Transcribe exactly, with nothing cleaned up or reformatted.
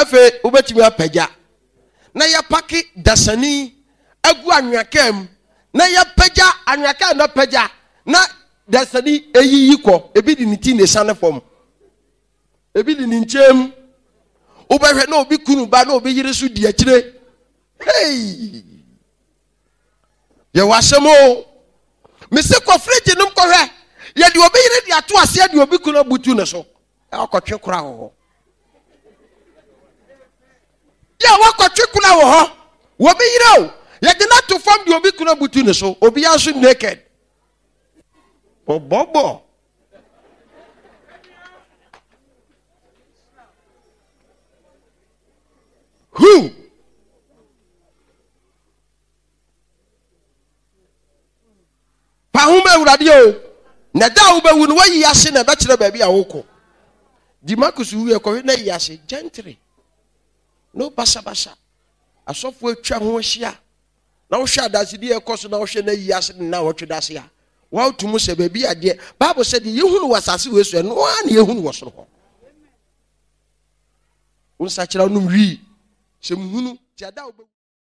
Afei wobɛtumi apagya na yɛpake dasani agu anwea kaa mu na yɛpagya anwea kaa na pagya na dasani eyiyi kɔ. Ebi de ne ti na esiane fam, ebi de ne nkyɛn mu. Wobɛhwɛ na obi kunu ba na obi yere so di akyire. Hey! Yɛwɔ asɛm o. Mese kɔ fridge nom kɔhwɛ. Yɛde obi yere de ato aseɛ de obi kunu abutu ne so. Wakɔtwe kora wɔ hɔ. Yɛ wakɔtwe kora wɔ hɔ. Obi yere o. Yɛde no ato fam de obi kunu abutu ne so. Obiara nso naked. Ɔbɔbɔ. Who? Pa ho ma Awurade o. Na da a wobɛwu no, woayi ase na ɛbɛkyerɛ baabi a wokɔ. Di Marcus wuiɛ kɔhwɛ na yi ase gently. No basabasa. Asɔfoɔ atwa ho ahyia. Na wohwɛ adansedi a ɛkɔ so na wohwɛ na yi ase ne na wɔtwe da ase a, woato mu sɛ baabi adeɛ. Bible sɛ deɛ yɛhunu wɔ asase wei so ɛno ara na yɛhunu wɔ soro hɔ. Wo nsakyera nom wii. Sɛ muhunu, ti ada a wobɛwu.